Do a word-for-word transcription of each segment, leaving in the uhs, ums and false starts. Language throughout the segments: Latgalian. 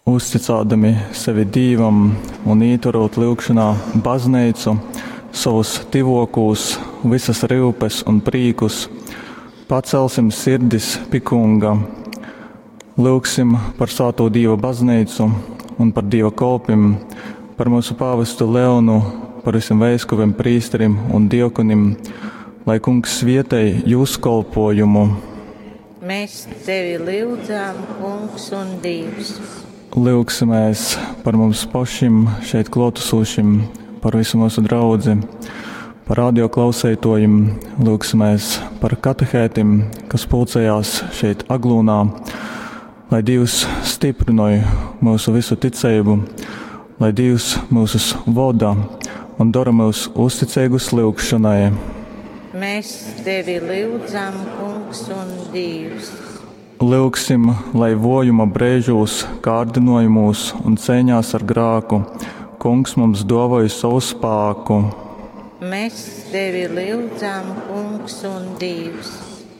Uzticādami sevi Dīvam un ītverūt lyugšonā bazneicu, sovus tyvōkūs, vysas ryupes un prīkus, pacelsim sirdis pi Kunga. Lyugsim par svātū Dīva bazneicu un par Dīva kolpim, par myusu pāvestu Leonu, par visiem veiskupiem, prīsterim un diokonim, lai Kungs svietej jūs kolpojumu. Mēs tevi lyudzām, Kungs un Dievs. Lyugsimēs par mums pašim šeit klātesošim, par visu mūsu draudzi, par radio klausētojiem, lyugsimēs par katehētim, kas pulcējās šeit Aglūnā, lai Dievs stiprinoj mūsu visu ticību, lai Dievs mūsus voda un dara mūs uzticīgus lyugšanai. Mēs tevi lyudzam, Kungs un Dievs. Lyugsim, lai vojuma brēžūs, kārdinojumos un cīņās ar grāku Kungs mums dāvāja savu spāku. Mēs tevi lyudzam, Kungs un Dievs.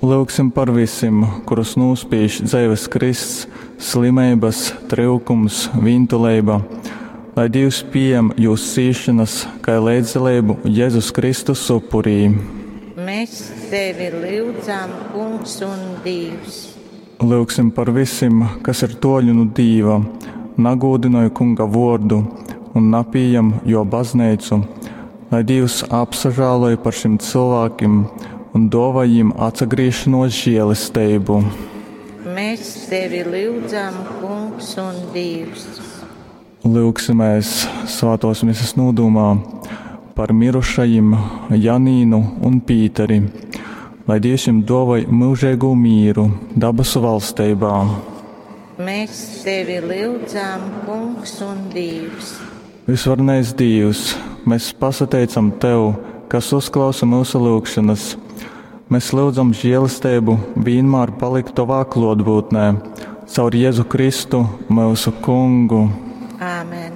Lyugsim par visiem, kurus nūspīž dzīves krists, slimības, tryukums, vīntuleiba, lai Dievs pieņem jūs cīšanas, kā līdzdalību Jēzus Kristus upurī. Mēs tevi lyudzam, Kungs un Dievs. Lyugsim par visiem, kas ir toļu nu Dīva, nagūdinoja Kunga vordu un napījam jo baznīcu, lai Dievs apsažāloja par šim cilvēkiem un dāvā viņiem atsagriešanos žēlestību. Mēs tevi lyudzam, Kungs un Dievs. Lyugsimies svētos misas nodūmā par mirušajiem Janīnu un Pīteri, lai Dievs jums dāvāj mūžīgo mīru dabasu valstībā. Mēs tevi lyudzam, Kungs un Dievs. Visvarenais Dievs, mēs pasateicam Tev, kas uzklausa mūsu lūgšanas. Mēs lūdzam žēlastību vienmēr palikt Tavā klātbūtnē, caur Jēzu Kristu, mūsu Kungu. Āmen.